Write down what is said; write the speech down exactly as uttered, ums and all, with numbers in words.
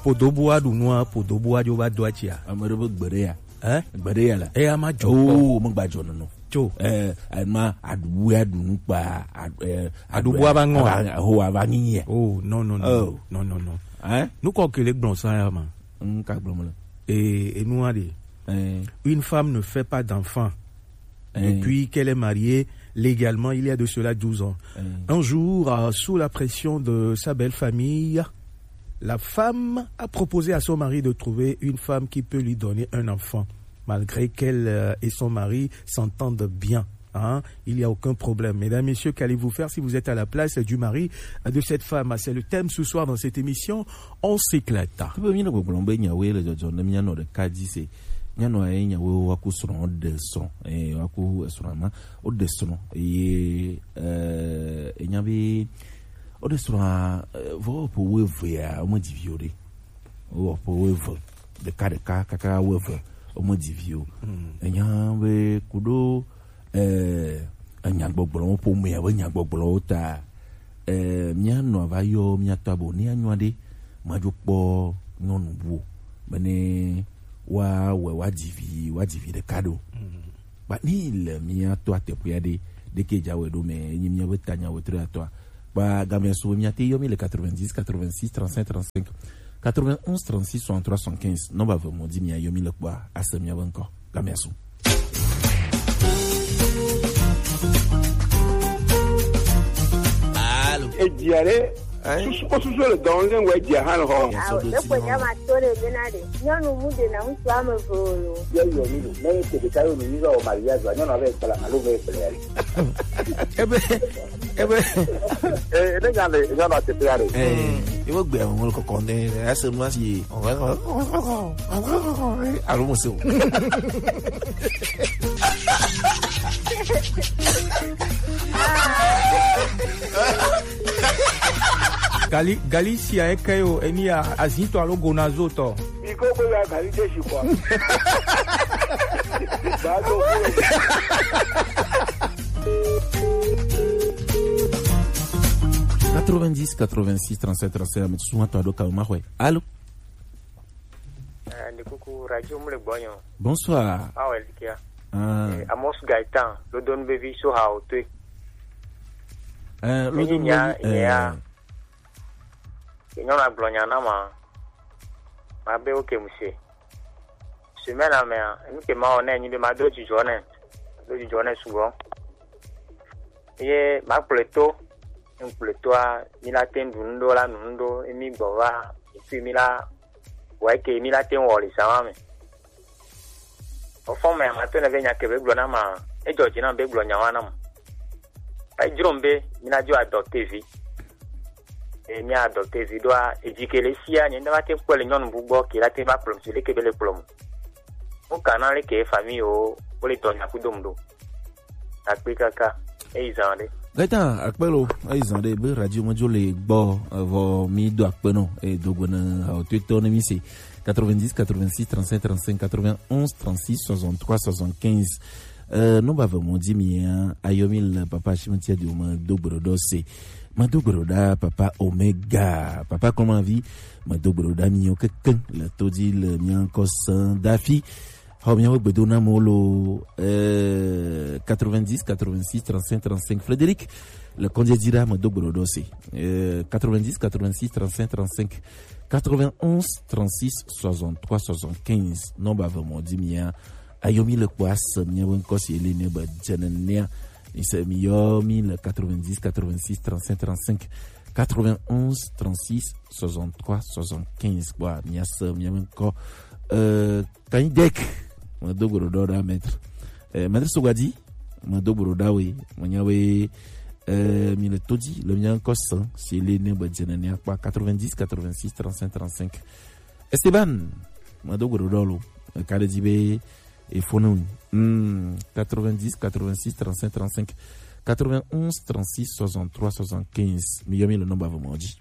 Podobu aɖu nua, podobu adzo va do atsia. Ame ɖe be gbe ɖe ya. Hein? Gbe ɖe ya la. Eya ma dzɔ kpɔ. Oh, me gba dzɔ nono. Tso. Eh, ma aɖu aɖu nu kpa, aɖu, eh, Aɖu bua va ŋɔ. Ava, ho ava nyi ya. Oh, non, non, non. Oh. Non, non, non. Hein? Nu kɔ kele gblɔ sa ya ma. N ka gblɔ me le. Eh, enua de. Eh. Une femme ne fait pas d'enfant. Eh. Depuis qu'elle est mariée légalement, il y a de cela douze ans. Eh. Un jour, euh, sous la pression de sa belle-famille, la femme a proposé à son mari de trouver une femme qui peut lui donner un enfant, malgré qu'elle, euh, et son mari s'entendent bien. Hein, il n'y a aucun problème. Mesdames, messieurs, qu'allez-vous faire si vous êtes à la place du mari, euh, de cette femme? C'est le thème ce soir dans cette émission. On s'éclate. Tout le monde, le problème, ben, il y a, oui, le, le, le, il y a, non, le cas dit, c'est, il y a, non, il y a, oui, on va coucher sur un dessin. Et on va coucher sur un, au dessin. Et, euh, il y avait, au dessin, euh, vous pouvez voir, au moins, dix vieux, au moins, dix vieux. Ɖeka ɖeka kaka wo eve, wo me dzi vi o. Mm. Enya be kuɖo, eh, enyagbɔgblɔwo, ƒomea be nyagbɔgblɔwo ta, eh, mía nɔ va yɔ mía tɔ abo ne anyo aɖe, madzo kpɔ nyɔnu bu o. Bene woawɔe woadzi vi, woadzi vi ɖeka ɖo. Mm. Ba ni le mía to ateƒe aɖe, ɖeke dza wɔe ɖo me, enyi mía be tanya wetri atɔa. Ba gamea su mía te yɔ mi le quatre-vingt-dix, quatre-vingt-six, trente-cinq, trente-cinq, quatre-vingt-onze, trente-six, soixante-trois, soixante-quinze. Nɔmba ve mo di mía yɔ mi le kpɔa, ase mía be ŋkɔ. Gamea su. Alo. Edzia ɖe. Hein? Susu kpɔ susu le dɔn le ŋgɔ edzia hã le xɔ. Awo, ne ko nya ma to le bena ɖe. Nyɔnu mu ɖe na ŋutsu ame eve o lo. Ye yɔ mi lo. Ne ke ɖeka yɔ mi, mi va wɔ mariage wa, nyɔnu ave kpla alo ve kpla ya le. Ebe, ebe. Eh, ne nya le, nya na te ya le. Eh, ewo gbe awon kɔkɔ ne, ase nu asi. Alo mo se o. Gali, gali si a eke yo, eni a, azito alo gonazo to. Biko ko ya gali de si kwa. Ba to ko. Quatre-vingt-dix, quatre-vingt-six, trente-sept, trente-sept, ame susu to ado ka ma hwe. Allô? Eh, ndi kuku radio mu le gbɔnyo. Bonsoir. Awo elikia. Ah. Eh, Amos Gaetan, Lodon Baby so ha o tue. Eh, Lodon nya, Baby, nya. Eh. Ke nyɔnu agblɔ nya na ma. Ma be oke mu se. Semaine mea, enu ke ma wɔ ne nyi be ma do dzidzɔ ne. Do dzidzɔ ne sugbɔ. Ye ma kplɔe to. Ne kplɔe toa, mi la te ɖu nu ɖo la nu nu ɖo. Ye mi gbɔ va. Et puis mi la Wa ke mi la te wɔ le sama me. O fɔ me ma to ne ve nya ke be gblɔ na ma. E jɔ dzi na be gblɔ nya wa na ma. E jro be mi na jo adopte vi. E mi adopte vi do a e dzi ke le sia nye nda ma te kpɔ le nyɔnu bu gbɔ ke la te va kplɔ mi le ke be le kplɔ mu. Mo kana le ke famille o, o le dɔ nya ku dom do. Akpe kaka. Eyi zan ɖe. Gata akpe lo, eyi zan ɖe be radio medzo le gbɔ, evɔ mi do akpe nɔ, e dogbe ne hawo to to ne mi se. Quatre-vingt-dix, quatre-vingt-six, trente-cinq, trente-cinq, quatre-vingt-onze, trente-six, soixante-trois, soixante-quinze. Euh, non ba ve mo di mi a, ayo mi le papa Shimon Tiadi o me do gbro do se. Me do gbro da papa Omega, papa comment vie, me do gbro da mi o keke, le to di le mi encore sans dafi. Xɔ miaƒe gbedonamewo lo, euh, quatre-vingt-dix, quatre-vingt-six, trente-cinq, trente-cinq. Frédéric, le kɔnjɛ dzi ɖa, medo gbe ɖoɖo se. Euh, quatre-vingt-dix, quatre-vingt-six, trente-cinq, trente-cinq, quatre-vingt-onze, trente-six, soixante-trois, soixante-quinze. Nɔmba ve mo di mia. Ayo mi le kpɔ ase miaƒe ŋkɔ si ele ne be dze nenea. Mi se mi yɔ mi le quatre-vingt-dix, quatre-vingt-six, trente-cinq, trente-cinq, quatre-vingt-onze, trente-six, soixante-trois, soixante-quinze. Kpɔ mia se miaƒe ŋkɔ. Euh, Kanyi Dek, medo gbe ɖoɖo ɖa maître. Eh, maître Sogadi, medo gbe ɖoɖo ɖa we, menya we, eh, mi le to dzi, le mia ŋkɔ se, si le ne be dze nene akpa quatre-vingt-dix, quatre-vingt-six, trente-cinq, trente-cinq. Esteban, medo gbe ɖoɖo lo, ka ɖe dzi be, e fo ne ŋu. Hmm, quatre-vingt-dix, quatre-vingt-six, trente-cinq, trente-cinq, quatre-vingt-onze, trente-six, soixante-trois, soixante-quinze. Mi yɔ mi le nɔmba ve mo dzi.